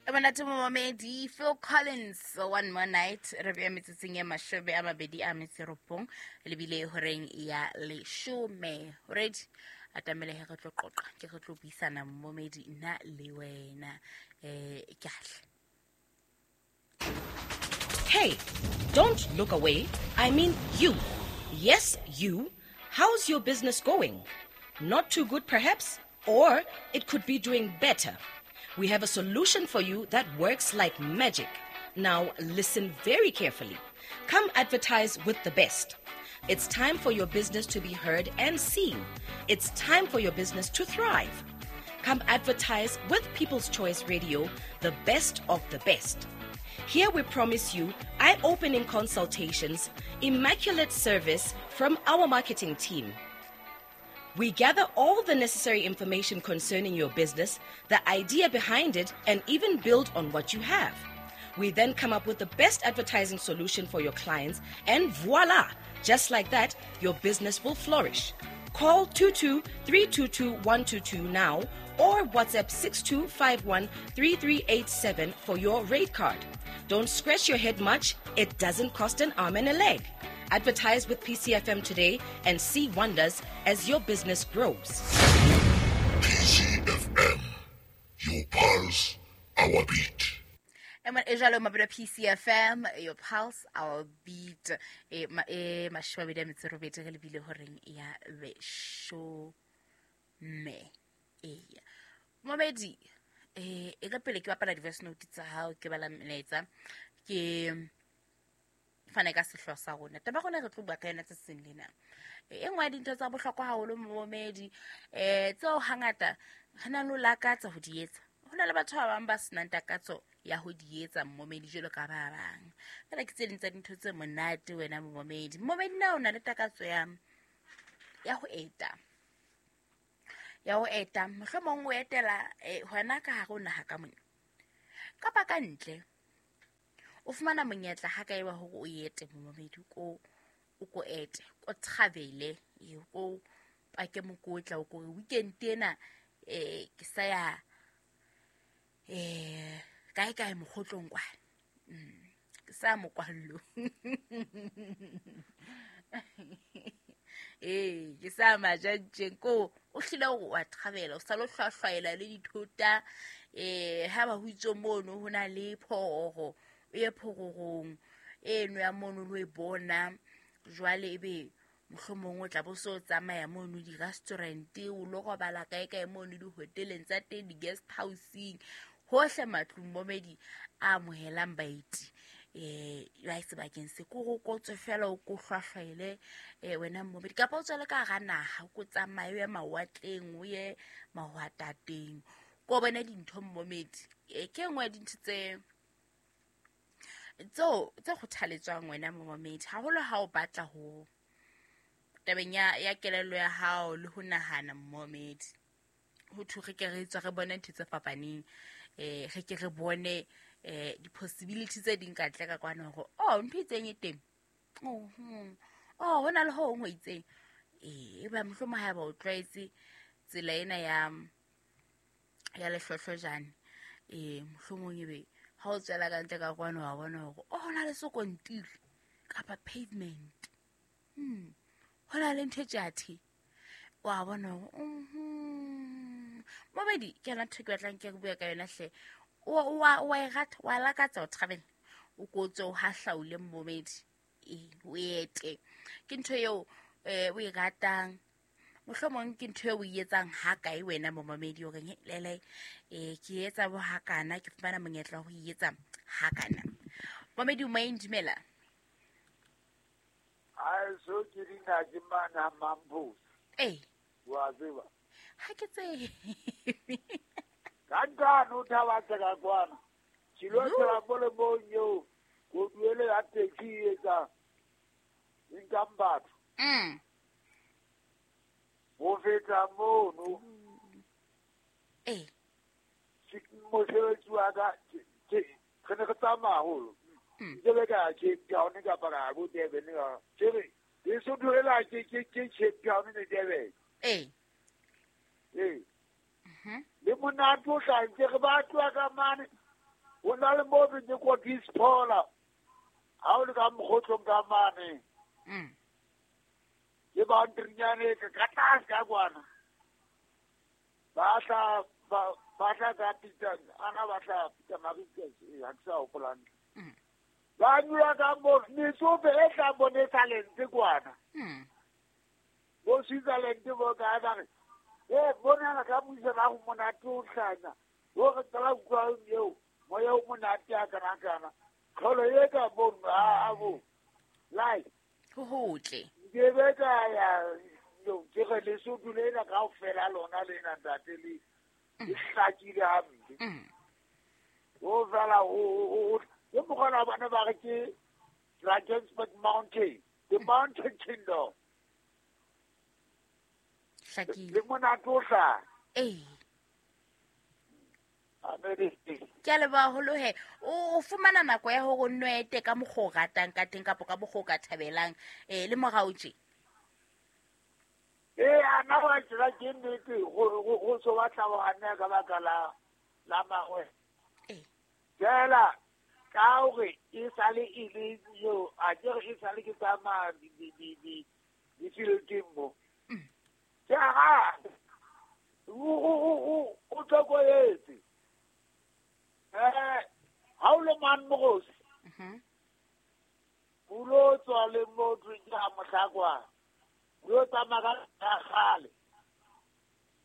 Monate momamedi, Phil Collins, One More Night. Re bea metsotsong e 29 lebile horeng ya 10. Ready atamele he re tlo qoqa, ke re tlo buisana momamedi nna le wena, ke ahle. Hey, don't look away. I mean you. Yes, you. How's your business going? Not too good, perhaps? Or it could be doing better. We have a solution for you that works like magic. Now, listen very carefully. Come advertise with the best. It's time for your business to be heard and seen. It's time for your business to thrive. Come advertise with People's Choice Radio, the best of the best. Here we promise you eye-opening consultations, immaculate service from our marketing team. We gather all the necessary information concerning your business, the idea behind it, and even build on what you have. We then come up with the best advertising solution for your clients, and voila! Just like that, your business will flourish. Call 22-322-122 now or WhatsApp 6251-3387 for your rate card. Don't scratch your head much. It doesn't cost an arm and a leg. Advertise with PCFM today and see wonders as your business grows. PCFM, your pulse, our beat. E jalo mabelo PCFM, your pulse, our beat. E 28 re lebile horeng ya 10. E momedi, e ka pele ke bapala di-voice note tsa hao, ke bala melaetsa, ke fane ka sehlooho sa rona. Taba rona re tlo bua ka yona tsatsing lena. E nngwe ya dintho tsa bohlokwa haholo momedi, tseo hangata re na le ho lakatsa ho di etsa. Ho na le batho ba bang ba senang takatso ya ho di etsa momedi jwalo ka ba bang. Fela ke tse ding tsa dintho tse monate wena momedi. Momedi na o na le takatso ya ho eta. Ya ho eta, mohlomong o etela hona ka hare ho naha ka mona. Kapa ka ntle. O fumana monyetla ha ka eba hore o ete momedi, ko o ko ete, ko travele, ko pake mokotla, o ko weekend ena ke sa ya kae kae mokgotlong kwana. Ke sa mokwallo. Ke sa majantjeng ko o hlile o a travela, o sa lo hlwahlwaela le dithota, ha ba ho itse mono ho na le phorogo, o ye phorogong eno ya mono lo e bona. Jwale ebe mohlomong o tla bo so tsamaya mono di-restaurant, o lo robala kae kae mono di-hoteleng tsa teng, di-guest houseng, hohle matlung momedi a amohelang baeti. Ba sebakeng se ko go kotswe fela o ko hlwahlwaele wena momedi, kapa o tswele ka hara naha, o ko tsamaye o ye mawatleng, o ye mahwatateng, ko bone dintho momedi. Ke e nngwe ya dintho tse tse kgothaletswang wena momedi, haholo ha o batla ho tabeng ya kelello ya hao le ho nahana momedi. Ho thwe re ke re tswa re bone ntho tse fapaneng, re ke re bone di-possibility tse ding ka ntle ka kwana hore oh ntho itseng e teng, oh ho na le ho hong ho itseng. Eba mohlomong ha eba o tlwaetse tsela ena ya lehlohlojane, mohlomong ebe ha o tswela ka ntle ka kwana wa bona hore oh ho na le sekontiri kapa pavement, ho na le ntho e tjathe, wa bona hore momedi ke yona ntho ke batlang ke re bua ka yona hle. O a e rata, wa lakatsa ho travel, o ko tswe o hahlaule momedi, o ete. Ke ntho eo o e ratang, mohlomong ke ntho eo o e etsang ha kae wena momedi, o reng lele ke etsa bo hakana, ke fumana monyetla ho e etsa hakana. Momedi o moyeng, dumela. Ai so ke dina ke mana mampho. Wa tseba. Ha ke tsebe. Ka ntano thaba tsa kwana. Tshilo tsa bole bonyo, go duele ya taxi etsa income batho. Bo feta mono. Mosebetsi wa ka ke ne re tsamaya haholo. Ke be ka Cape Town kapa ka bo Durban ka. Ke re so duela ke Cape Town le Durban. Le monate o hlantse re ba tloha ka mane. Ho na le mo re ke kwa Disphola. Ha o le ka mokgotlong ka mane. Ke ba ntrinyane ka tlase ka kwana. Ba tla ka Peter, ana ba tla Peter Maritzburg, ha ke sa hopola hantle. Ba nyula ka mo metsofe e tla bone talente kwana. Bo Switzerland bo ka ba re bona ka buisana go monate o hlanya. Bo re tsala kwa eo moya o monate a kana kana. Kholo e ka bona a bo. Lai. Ho hotle. Ke be ka ya yo ke re le so dulela ka ofela lona le na ntate le hlakile hampe. O fela o ke mogona bana ba re ke Drakensberg Mountain, the mountain kingdom. Hlakile. Le monate o hlaha. Ke a leboha haholo he. O fumana nako ya hore o nno ete ka mokgwa o ratang ka teng kapa ka mokgwa o ka thabelang le morao tje. Ana wa tsela ke nnete go so batla go hanna ka baka la mangwe. Fela ka hore e sale e le yo a ke re e sale ke tsamaya di fielding mo. Ke ha o tlokoetse. Ha o le man mogosi. O lo tswa le motho ke ha mohlakwa. O tsamaya ka kgale.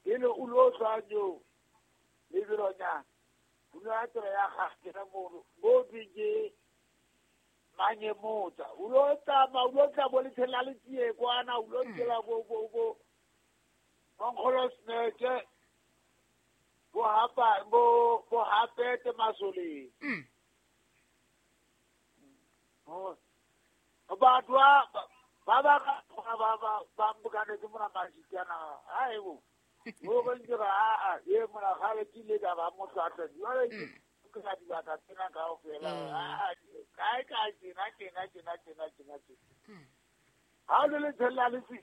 Pele o lo tswa yo le bironya. O no tsela ya gagwe ka mo bo ke manye motsa. O lo tsamaya o lo tla bo le tshela le tsie kwana o lo tsela bo bo bo Mongolo sneke bo hapa bo hapete masole. Batho ba ba mbukane ke mona majikana haebo. Bo ba ntse ba a e mona gale ke ile ka ba motlhatla. Jwale ke ka dibaka tsena kaofela. Kae ka tsena tsena tsena tsena tsena. Ha le tshela le tsi.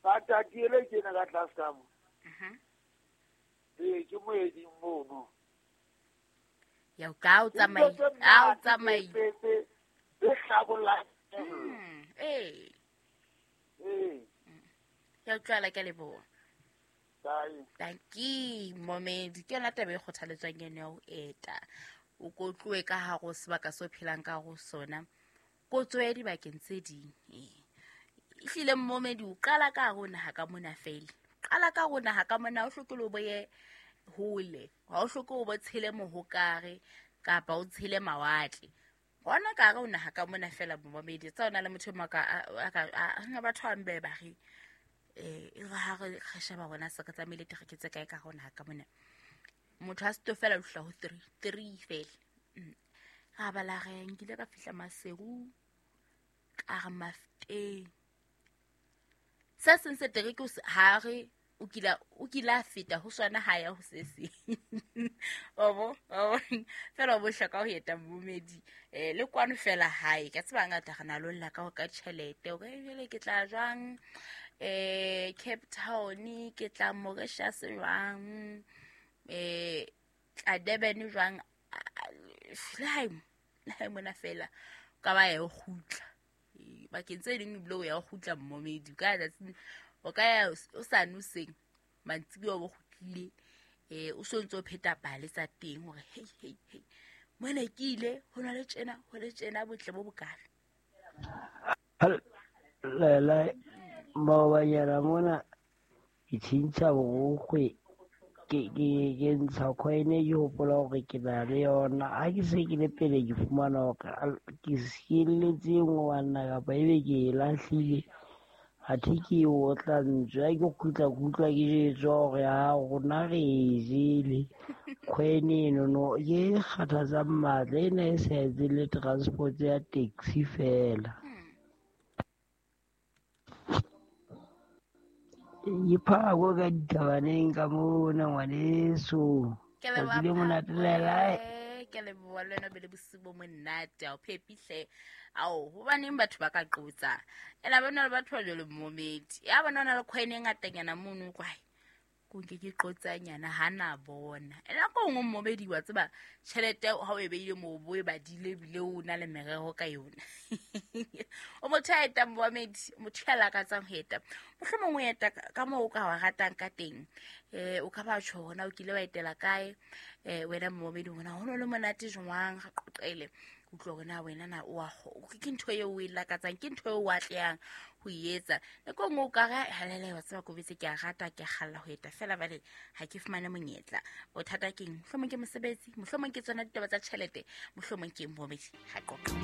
Ba tatile ke na ka tlase ka mo. Ke moedi mono. Ya ka o tsamai. A o tsamai. Le hlabolla. Ya utlwala ke leboha. Bye. Thank you, momedi. Ke yona taba e kgothaletswang eno ya ho eta. O ko tlohe ka hare ho sebaka seo phelang ka ho sona. Ko tswe dibakeng tse ding. Ehlile momedi o qala ka hare ho naha ka mona fela. Qala ka hare ho naha ka mona o hloke le o boye hole. Ha o hloke o bo tshele mohokare kapa o tshele mawatle. Hona ka hare ho naha ka mona fela momedi. Tsa ona le motho mo ka a batho ba mbe ba re e re ha re sheba rona se ka tsamaile tereke tse kae ka hare ho naha ka mona. Motho a se fela o hla ho 3 fela. Ra bala re nkile ka fihla Maseru ka re Mafteng. Se seng se tereke ha re o kila feta ho swana ha ya ho se seng. Obo fela bo hloka ho eta momedi le kwano fela hae ka tseba ngata re na lolla ka ho ka tjhelete o ka jele ke tla jwang Cape Town ke tla Mauritius jwang tla Durban jwang le hae mona fela ka ba ya kgutla bakeng tse ding ebile o ya kgutla momedi ka tsatsing o ka ya o sa noseng mantsibuya o kgutlile o so ntse o pheta pale tsa teng hore hey hey hey mona ke ile ho na le tjena ho le tjena botle bo bokana. Lela maobanyana mona ke tjhentjha borokgwe ke ntsha coin ke hopola hore ke na le yona. Ha ke se ke le pele ke fumana hore ke sielletse e nngwe banna kapa ebe ke e lahlile. Athe ke e otla ntswe ha ke kgutla ke utlwa ke jwetswa hore ha rona re e jele coin enono ke e kgathatsang matla ena e sa etse le transport ya taxi fela. Ke phako ka ditabaneng ka mona ngwaneso. Ke Tsatsi le monate lelae. Ke leboha le wena be le bosiu bo monate. Ao phepihle. Ao hobaneng batho ba ka qotsa. Ela bona le batho ba jwalo momedi. Ya bona ona le coin e ngatanyana mono kwae. Ko nke ke qotsanyana ha na bona. E nako nngwe mmomedi wa tseba tjhelete ha o e beile moo bo e badile ebile o na le merero ka yona. O motho ya etang momedi, motho ya lakatsang ho eta. Mohlomong o eta ka moo o ka wa ratang ka teng. O ka ba tjho hona o kile wa etela kae? Wena momedi hona ho no le monate jwang? Re qoqele. Utlwa hore na wena na o a ke ntho eo o e lakatsang, ke ntho eo o atlehang ho e etsa. Nako e nngwe o ka re halele wa tseba kobetse ke a rata, ke a kgalla ho eta fela bale ha ke fumane monyetla. Bothata keng? Mohlomong ke mosebetsi, mohlomong ke tsona ditaba tsa tjhelete, mohlomong ke momedi. Ha qoqa.